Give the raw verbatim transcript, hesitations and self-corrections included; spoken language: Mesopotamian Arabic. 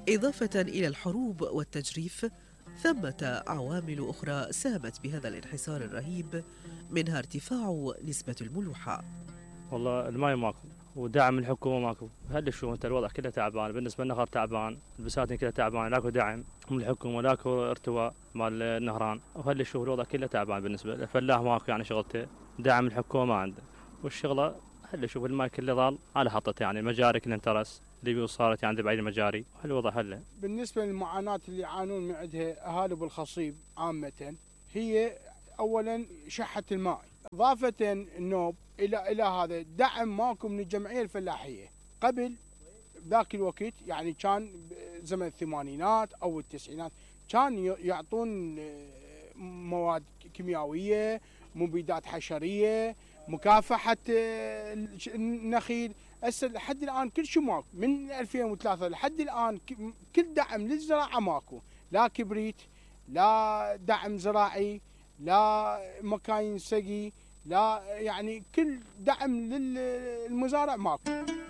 إضافة إلى الحروب والتجريف، ثمة عوامل أخرى ساهمت بهذا الانحسار الرهيب، منها ارتفاع نسبة الملوحة. والله الماي ماكو ودعم الحكومة ماكو، هل شو انت الوضع كله تعبان، بالنسبة للنهر تعبان، البساتين كلها تعبان، لاكو دعم من الحكومة، لاكو ارتواء مال النهران، وهل شو الوضع كله تعبان. بالنسبة للفلاح ماكو يعني شغلته، دعم الحكومة ما عنده، والشغلة هل شوف الماي كله ضال على حطته، يعني المجاري كلها انترس، اللي صارت يعني بعيد المجاري، هالوضع هلا. بالنسبة للمعاناة اللي يعانون من عندها أهالي بالخصيب عامة، هي أولا شحة الماء، إضافة النوب إلى إلى هذا دعم ماكو من الجمعية الفلاحية. قبل ذاك الوقت يعني كان زمن الثمانينات أو التسعينات كان يعطون مواد كيميائية، مبيدات حشرية، مكافحة النخيل. هسه لحد الآن كل شيء ماكو، من ألفين وثلاثة لحد الآن كل دعم للزراعة ماكو، لا كبريت، لا دعم زراعي، لا مكاين سقي، لا يعني كل دعم للمزارع ماكو.